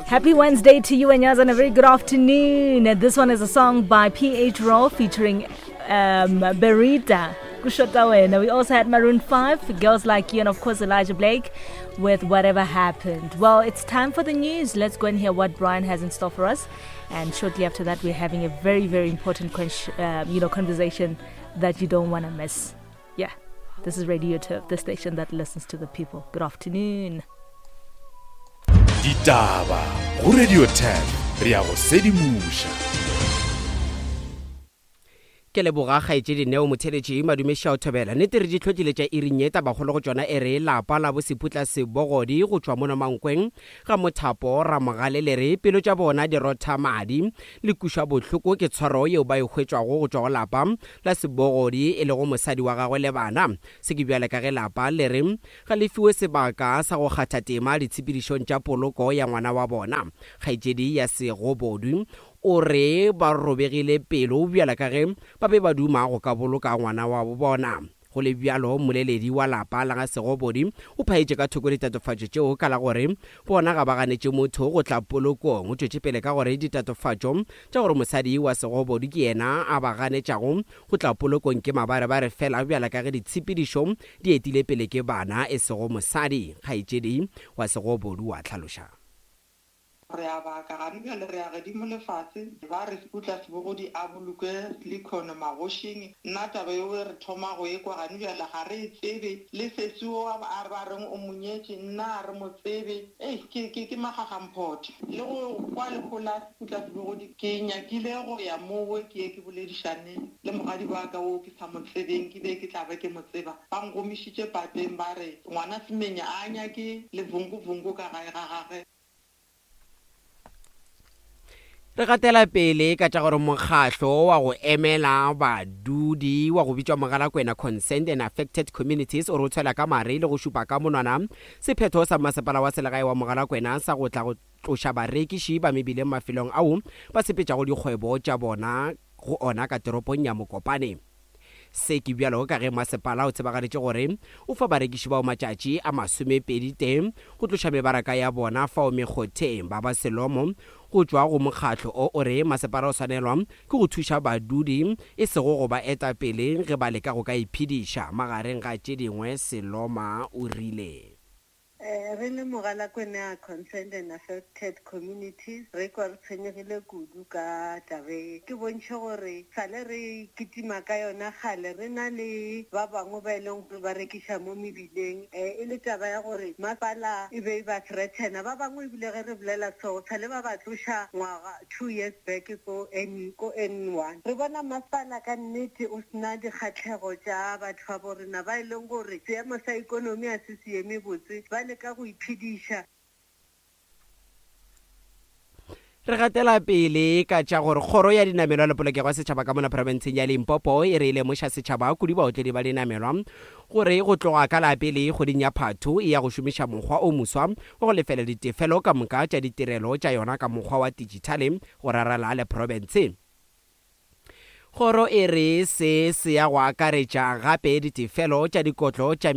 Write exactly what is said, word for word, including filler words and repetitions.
Happy Wednesday to you and yours, and a very good afternoon. This one is a song by P H. Raw featuring um, Berita. Kushota. We also had Maroon five, Girls Like You, and of course Elijah Blake with Whatever Happened. Well, it's time for the news. Let's go and hear what Brian has in store for us. And shortly after that, we're having a very, very important question, uh, you know, conversation that you don't wanna miss. Yeah, this is Radio Turf, the station that listens to the people. Good afternoon. Ditaba go Radio Turf, re ya go sedimoša. Ke leboga kgaetšedi Neo Motheletši madumeša o thobela. Nnete re di tlhotlile tša iring ye tabakgolo go tšona e re lapa la boseputla sebogodi go tšwa mono Mankweng ga Mothapo Ramogale le re pelo tša bona di rotha madi le kušwa bohloko ke tshwaro yeo ba e hwetšwago go tšwa go lapa la sebogodi e lego mosadi wa gagwe le bana. Se ke bjale ka ge lapa le re ga le fiwe sebaka sa go kgatha tema ditshepedišong tša poloko ya ngwana wa bona. Kgaetšedi ya Segobodu o re ba robegile pelo bjala ka ge ba be ba duma go ka boloka ngwana wa bona. Go le bjalo mmoleledi wa lapa la ga Segobodi o phaetše ka thoko ditatofatšo tšeo ka la gore bona ga ba ganetše motho go tla polokong. O tšwetše pele ka gore ditatofatšo tša gore mosadi wa Segobodi ke yena a ba ganetšago go tla polokong ke mabarebare fela bjala ka ge ditshepedišo di etile pele ke bana e sego mosadi. Kgaetšedi wa Segobodi wa hlaloša. Re a baka gane bjale re ya godimo lefase ba re Seputla Sebogodi a bolokwe lekhono magošing. Nna taba eo re thoma go ekwa gane bjale ga re e tsebe le sesi o a ba reng o monyetše nna a re mo tsebe. Ei ke ke ke magagamphoto le go kwa lehola Seputla Sebogodi ke nyakile go ya mowe ke ye ke boledišane le mogadi wa ka o ke sa mo tsebeng ke be ke tla be ke mo tseba. Ba ngomišitše pateng ba re ngwana Semenya a nyake le vunguvungu ka gae ga gagwe. Re gatela pele ka tša gore mokgahlo wa go emela badudi wa go bitšwa Mogalakwena Concerned and Affected Communities o re o tshwela ka mare le go šupa ka monwana sephetho sa masepala wa selegae wa Mogalakwena sa go tla go tloša barekiši ba mebileng mafelong ao ba sepetšago dikgwebo tša bona go ona ka toropong ya Mokopane. Se ke bjalo ka ge masepala o tsebagaditše gore o fa barekiši bao matšatši a masomepedi tee go tloša mebaraka ya bona fao mekgotheng. Ba ba Selomo go tšwa go mokgahlo o o re masepala o swanelwa ke go thuša badudi e sego go ba eta pele ge ba leka go ka iphediša. Magareng ga tše dingwe Seloma o rile re le Mogalakwena Concerned and Affected Communities re kwa re tshwenyegile kudu ka tabe. Ke bontšhe gore sale re kitima ka yona kgale re na le ba bangwe ba e leng gore ba rekiša mo mebileng, e le taba ya gore masepala e be e ba threatena. Ba bangwe ebile ge re bolela so sale ba ba tloša ngwaga two years back ko N ko N one. Re bona masepala ka nnete o sena dikgatlhego tša batho ba bo rena ba e leng gore seemo sa ikonomi a se se eme botse, ba leka go iphediša. Re gatela pele ka tša gore kgoro ya dinamelwa le polokego ya setšhaba ka mona profenseng ya Limpopo e re e lemoša setšhaba kudu baotledi ba dinamelwa gore go tloga ka la pele kgweding ya Phatho e ya go šomiša mokgwa o moswa wa go lefela ditefelo ka moka tša ditirelo tša yona ka mokgwa wa digitale go rarela le profense. Kgoro e re se se ya go akaretša gape ditefelo tša dikotlo tša